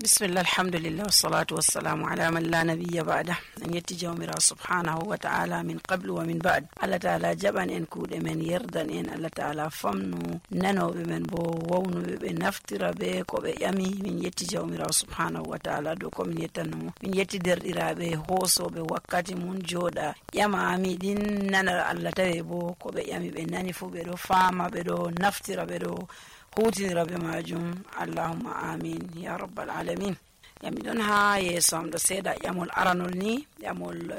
Bismillah, alhamdulillah, wassalatu wassalamu ala man la nabiyya ba'da. En yetti jawmirawo subhanahu wa ta'ala min qablu wa min ba'd. Allah ta'ala jaɓan en kuuɗe men, yerdan en. Allah ta'ala famnu nanoɓe men bo wawnuɓe ɓe naftira be ko ɓe ƴami. Min yetti jawmirawo subhanahu wa ta'ala dow ko min yettannomo. Min yetti derɗiraɓe hoosoɓe wakkati mun jooɗa ƴama miɗin nana Allah tawe bo ko ɓe ƴami ɓe nani fu ɓe ɗo fama, ɓe ɗo naftira, ɓe ɗo hutinira be majum. Allahumma amin ya rabbal alamin. Yami ɗon ha yeeso am ɗo seeɗa ƴamol aranol ni ƴamol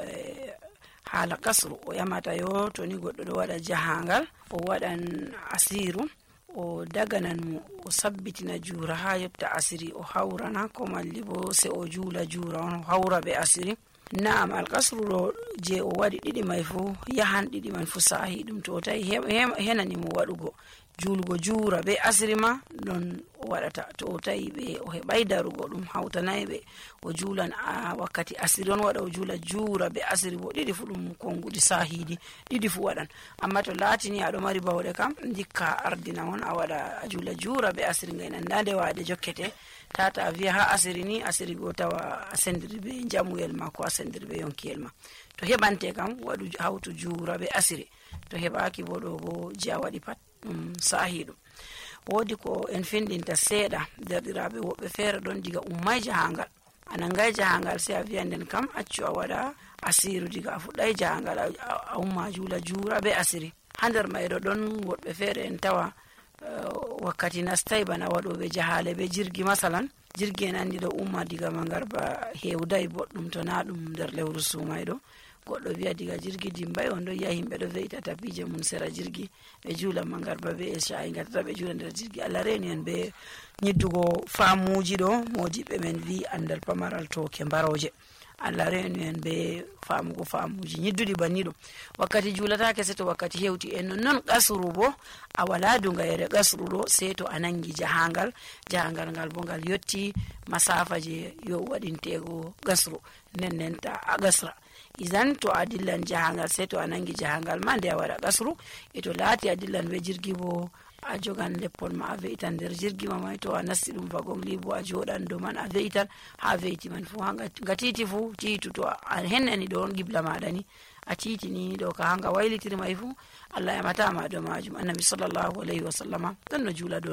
haala kasru. O ƴamata yo to ni goɗɗo ɗo waɗa jahangal, o waɗan asiru, o daganan mo o sabbitina juura ha yotta asiri o hawrana, ko malli bo se o juula juura on o hawra be asiri. Na'am, alkasru ɗo je o waɗi ɗiɗi mai fu yahan ɗiɗi man fu sahi ɗum to o tawi henani mo waɗugo julgo juura be asiri ma ɗon o waɗata. To o tawi ɓe o heɓai darugo ɗum hawtanayi ɓe o juulan wakkati asiri on waɗa o juula juura be asiri bo ɗiɗi fu ɗum konguɗi sahidi ɗiɗi fu waɗan. Amma to laatini aɗo mari bawɗe kam dikka ardina on a waɗa a juula juura be asiri ngay nandade waɗe jokkete tata a wiya ha asiri ni asiri go tawa a sendiri be jamuyel ma ko a sendiri be yonkiyel ma. To heɓante kam waɗu hawtu juura be asiri, to heɓaki bo ɗo bo je a waɗi pat sahi ɗum. Woodi ko en findinta seeɗa derɗiraɓe woɓɓe feere ɗon diga ummai jahangal, a nangai jahangal sai a wiya nden kam accu a waɗa asiru diga a fuɗɗai jahangal a umma juula juura be asiri. Ha nder mayɗo ɗon woɓɓe feere en tawa wakkati nastai bana waɗoɓe jahale be jirgi masalan, jirgi en andi ɗo umma diga mangarba hewdai boɗɗum to na ɗum nder lewru sumayɗo. Goɗɗo wiya diga jirgi dimbai on ɗo yi'a himɓe ɗo ve'ita tapije mun sera jirgi ɓe juula mangarba be esha'i gatata ɓe juula nder jirgi. Allah reni en be nyiddugo famuji ɗo modiɓɓe men vi andal pamaral toke mbaroje. Allah reni en be famugo famuji nyidduɗi banni ɗum. Wakkati juulatake se to wakkati hewti en non kasru bo a wala dungayere kasru ɗo se to a nangi jahangal ngal bo ngal yotti masafa je yo waɗintego gasru nden ta a gasra. Izan to a dillan jahangal se to a nangi jahangal ma nde a waɗa kasru. E to laati a dillan be jirgi bo a jogan leppol ma a ve'itan nder jirgi ma mai, to a nasti ɗum wagon li bo a joɗan dow man a ve'itan ha ve'iti man fu nga titi fu tiitu. To a hennani ɗo on gibla maɗa ni a titini ɗo ka hanga waylitiri mai fu Allah yamata ma ɗo majum. Annabi sallallahu alaihi wa sallama ɗon no juula ɗo